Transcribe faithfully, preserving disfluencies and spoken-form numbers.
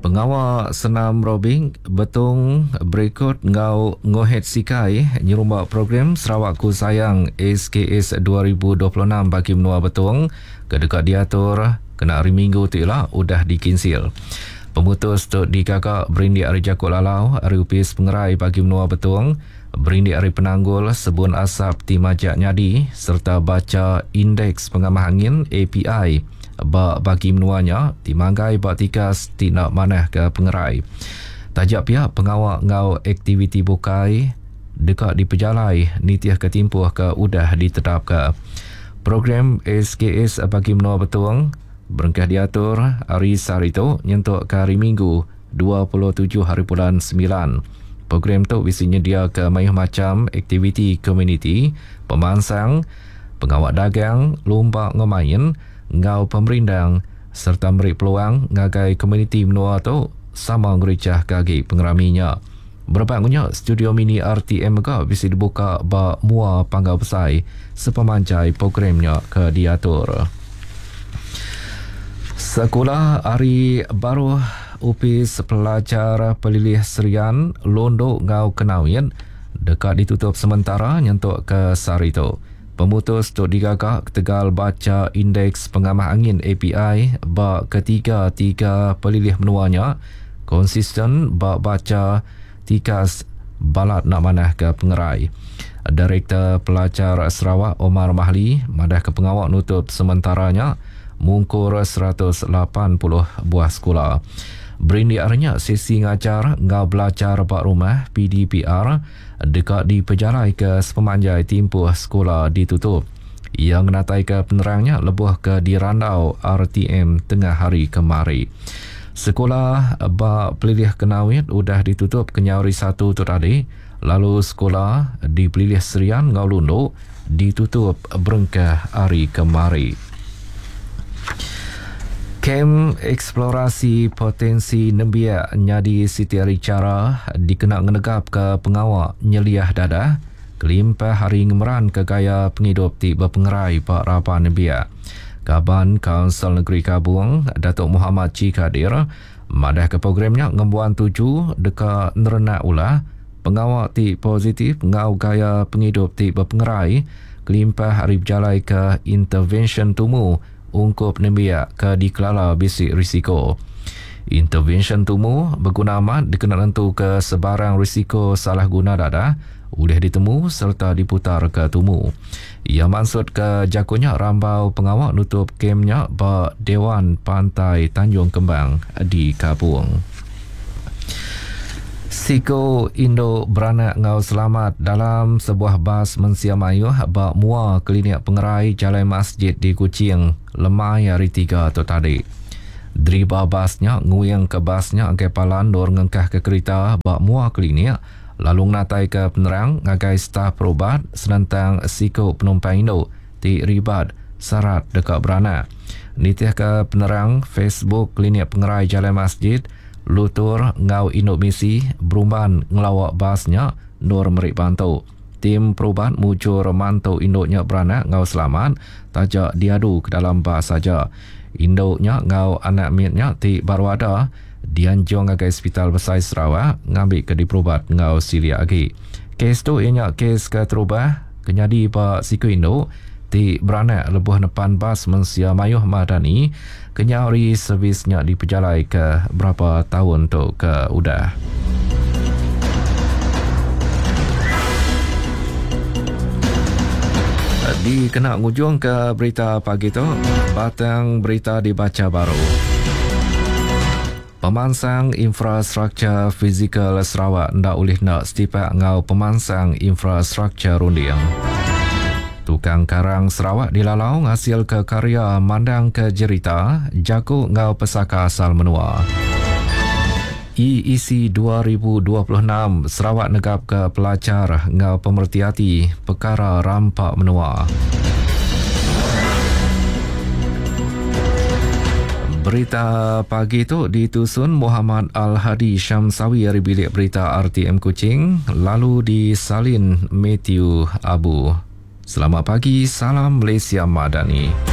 Pengawa senam robing Betong berikut ngau Ngohet Sikai nyerumba program Sarawakku Sayang S K S dua ribu dua puluh enam bagi menua Betong ke dekat diatur kena hari Minggu tu ila udah dikinsil. Pemutus tu digagak berindik hari Jakuk Lalau hari Upis Pengerai bagi menua Betong berindik hari penanggul sebun asap ti majak nyadi serta baca indeks pengamah angin A P I ba bagi menuanya ti manggai ba tikas ti nak manah ke pengerai. Tajak pihak pengawak ngau aktiviti bukai dekat dipejalai nitih ke timpuh ke udah ditetap ke. Program S K S bagi menua Betong berengkah diatur hari sehari tu nyentuk ke hari Minggu dua puluh tujuh hari bulan sembilan. Program tu bisi nyedia ke mayuh macam aktiviti komuniti, pemansang, pengawak dagang, lumba ngemain, ngau pemerindang serta meri peluang ngagai komuniti menua tu sama ngericah kagi pengeraminya. Berebak ngunya, studio mini R T M juga bisi dibuka ba mua Panggau Besai sepemanjai programnya ke diatur. Sekolah Hari Baru Upis Pelajar Pelilih Serian Londok Ngau Kenawit dekat ditutup sementara nyentuk ke sehari tu. Pemutus tu digagak ketegal baca indeks pengamah angin A P I ba ketiga-tiga pelilih menuanya konsisten ba baca tikas balat nak manah ke pengerai. Direktur Pelajar Sarawak Omar Mahli madah ke pengawak nutup sementaranya mungkur seratus lapan puluh buah sekolah. Berindik arnya sesi ngajar ngau belajar bak rumah P D P R dekat dipejalai ke sepemanjai timpuh sekolah ditutup. Yang natai ke penerangnya lebuh ke dirandau R T M tengah hari kemari. Sekolah bak Pelilih Kenawit udah ditutup kenyau hari satu tu tadi, lalu sekolah di Pelilih Serian ngau Lundu ditutup berengkah hari kemari. Kem eksplorasi potensi nembiak nyadi siti hari cara dikena ngenegap ke pengawak nyeliah dadah kelimpah hari ngemeran ke gaya penghidup ti berpengerai Pak Raban Nembiak. Kaban Kaunsil Negeri Kabung, Datuk Muhammad Chee Kadir, madah ke programnya ngembuan tuju deka nerenak ulah pengawak ti positif ngau gaya penghidup ti berpengerai kelimpah hari berjalai ke intervention tumu ungkup nembiak ke dikelala bisik risiko. Intervention tumu berguna amat dikena nentu ke sebarang risiko salah guna dadah boleh ditemu serta diputar ke tumu. Ia maksud ke jakunya rambau pengawak nutup kemnya ba Dewan Pantai Tanjung Kembang di Kabung. Siko Indo beranak ngau selamat dalam sebuah bas mensia mayuh ba mua klinik pengerai Jalan Masjid di Kuching lemai hari tiga tu tadi. Driba basnya nguyang ke basnya ke palan dor ngengkah ke kereta ba mua klinik lalu ngatai ke penerang ngagai staf perubat senentang siko penumpang Indo ti ribat syarat dekat beranak. Nitih ke penerang Facebook klinik pengerai Jalan Masjid, Lutur ngau induk misi berumban ngelawak basnya nur merik bantu. Tim perubat mujur mantu induknya beranak ngau selamat tajak diadu ke dalam bas saja. Induknya ngau anak miatnya ti baru ada dianjung ngagai Hospital Besar Sarawak ngambil ke diperubat ngau silia lagi. Kes tu ianya kes ke terubah kenyadi ba siku induk ti beranak lebuh nepan bas mensia mayuh madani kenyari servisnya dipejalai ke berapa tahun tu ke udah. Dikena ngujung ke berita pagi tu, batang berita dibaca baru. Pemansang infrastruktur fizikal Sarawak ndak ulih nak setipak ngau pemansang infrastruktur runding. Tukang karang Sarawak dilalau ngasil ke karya mandang ke jerita jago ngau pesaka asal menua. E E C dua ribu dua puluh enam Sarawak negap ke pelajar ngau pemertiati perkara rampak menua. Berita pagi tu ditusun Muhammad Al-Hadi Syamsawi dari bilik berita R T M Kuching, lalu disalin Matthew Abu. Selamat pagi, salam Malaysia Madani.